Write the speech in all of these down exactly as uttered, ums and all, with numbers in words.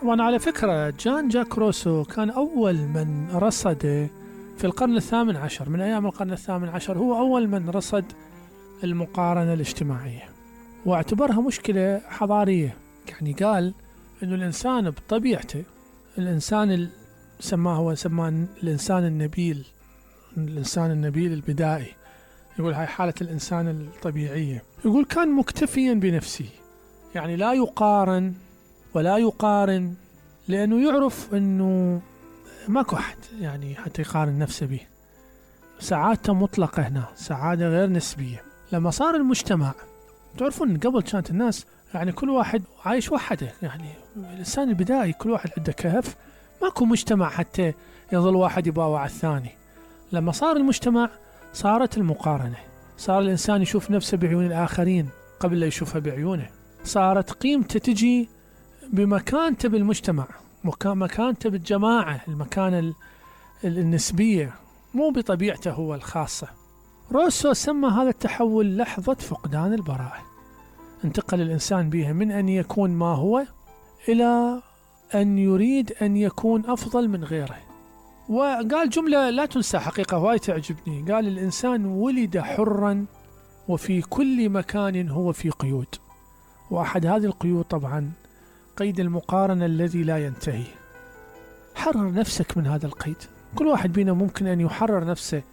وأنا على فكرة جان جاك روسو كان أول من رصد في القرن الثامن عشر، من أيام القرن الثامن عشر هو أول من رصد المقارنة الاجتماعية واعتبرها مشكلة حضارية. يعني قال إنه الإنسان بطبيعته، الإنسان سماه هو سماه الإنسان النبيل، الإنسان النبيل البدائي، يقول هاي حالة الإنسان الطبيعية. يقول كان مكتفيا بنفسه، يعني لا يقارن ولا يقارن، لأنه يعرف أنه ماكو أحد يعني حتى يقارن نفسه به. سعادته مطلقة هنا، سعادة غير نسبية. لما صار المجتمع، تعرفون قبل كانت الناس يعني كل واحد عايش وحده، يعني الإنسان البدائي كل واحد عنده كهف، ماكو مجتمع حتى يظل واحد يباوع الثاني. لما صار المجتمع صارت المقارنة، صار الإنسان يشوف نفسه بعيون الآخرين قبل لا يشوفها بعيونه، صارت قيمته تجي بمكانته بالمجتمع، مكانته بالجماعة، المكانة النسبية، مو بطبيعته هو الخاصة. روسو سمى هذا التحول لحظة فقدان البراءة، انتقل الإنسان بها من أن يكون ما هو إلى أن يريد أن يكون أفضل من غيره. وقال جملة لا تنسى حقيقة وايد تعجبني، قال الإنسان ولد حرا وفي كل مكان هو في قيود، وأحد هذه القيود طبعا قيد المقارنة الذي لا ينتهي. حرر نفسك من هذا القيد. كل واحد بينا ممكن أن يحرر نفسه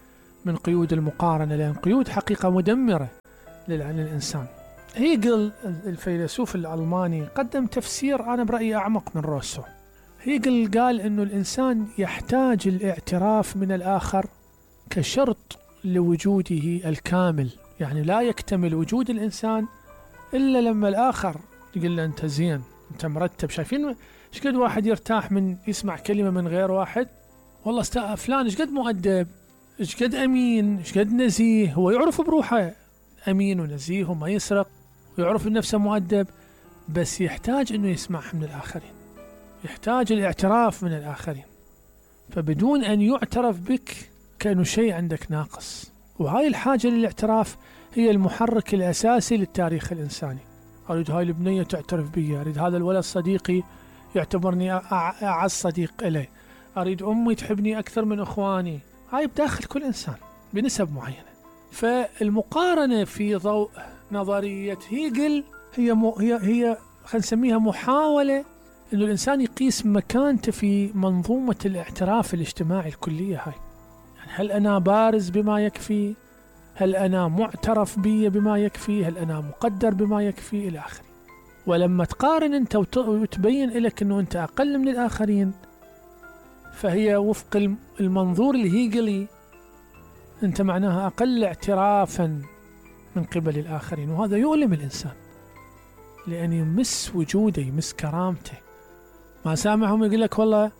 من قيود المقارنة، لأن قيود حقيقة مدمرة للإنسان. هيجل الفيلسوف الألماني قدم تفسير أنا برأيي أعمق من روسو. هيجل قال إنه الإنسان يحتاج الاعتراف من الآخر كشرط لوجوده الكامل، يعني لا يكتمل وجود الإنسان إلا لما الآخر يقول له أنت زين، أنت مرتب. شايفين إيش قد واحد يرتاح من يسمع كلمة من غير واحد؟ والله استا فلان إيش قد مؤدب، إيش قد أمين، إيش قد نزيه. هو يعرف بروحه أمين ونزيه وما يسرق ويعرف نفسه مؤدب، بس يحتاج إنه يسمعها من الآخرين، يحتاج الاعتراف من الآخرين. فبدون أن يعترف بك كأنه شيء عندك ناقص. وهاي الحاجة للاعتراف هي المحرك الأساسي للتاريخ الإنساني. أريد هاي البنية تعترف بي، أريد هذا الولد صديقي يعتبرني أعز صديق إليه، أريد أمي تحبني أكثر من إخواني. هاي بداخل كل إنسان بنسب معينة. فالمقارنة في ضوء نظرية هيجل هي مو هي هي خلينا نسميها محاولة إنه الإنسان يقيس مكانته في منظومة الاعتراف الاجتماعي الكلية. هاي يعني هل أنا بارز بما يكفي؟ هل أنا معترف بي بما يكفي؟ هل أنا مقدر بما يكفي؟ إلى آخره. ولما تقارن أنت وتبين لك أنه أنت أقل من الآخرين، فهي وفق المنظور الهيجلي أنت معناها أقل اعترافا من قبل الآخرين، وهذا يؤلم الإنسان لأن يمس وجوده، يمس كرامته. ما سامعهم يقول لك والله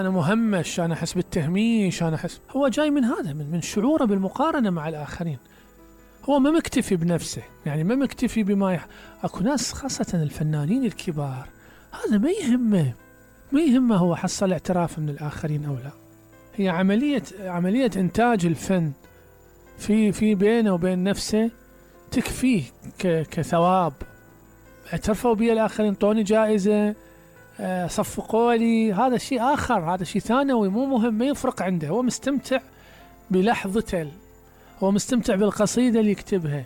أنا مهمش، أنا أحس بالتهميش، أنا أحس. هو جاي من هذا، من, من شعوره بالمقارنة مع الآخرين. هو ما مكتفي بنفسه، يعني ما مكتفي بما يح... أكو ناس خاصة الفنانين الكبار هذا ما يهمه، ما يهمه هو حصل اعتراف من الآخرين أو لا. هي عملية عملية إنتاج الفن في في بينه وبين نفسه تكفيه ك... كثواب. اعترفوا بي الآخرين، طوني جائزة، صفقوا لي، هذا شيء آخر، هذا شيء ثانوي مو مهم، ما يفرق عنده. هو مستمتع بلحظته، هو مستمتع بالقصيدة اللي يكتبها،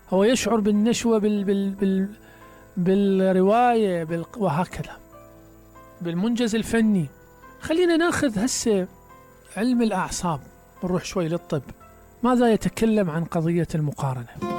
هو يشعر بالنشوة بال بال بال بالرواية بال وهكذا بالمنجز الفني. خلينا ناخذ هسه علم الأعصاب، نروح شوي للطب. ماذا يتكلم عن قضية المقارنة؟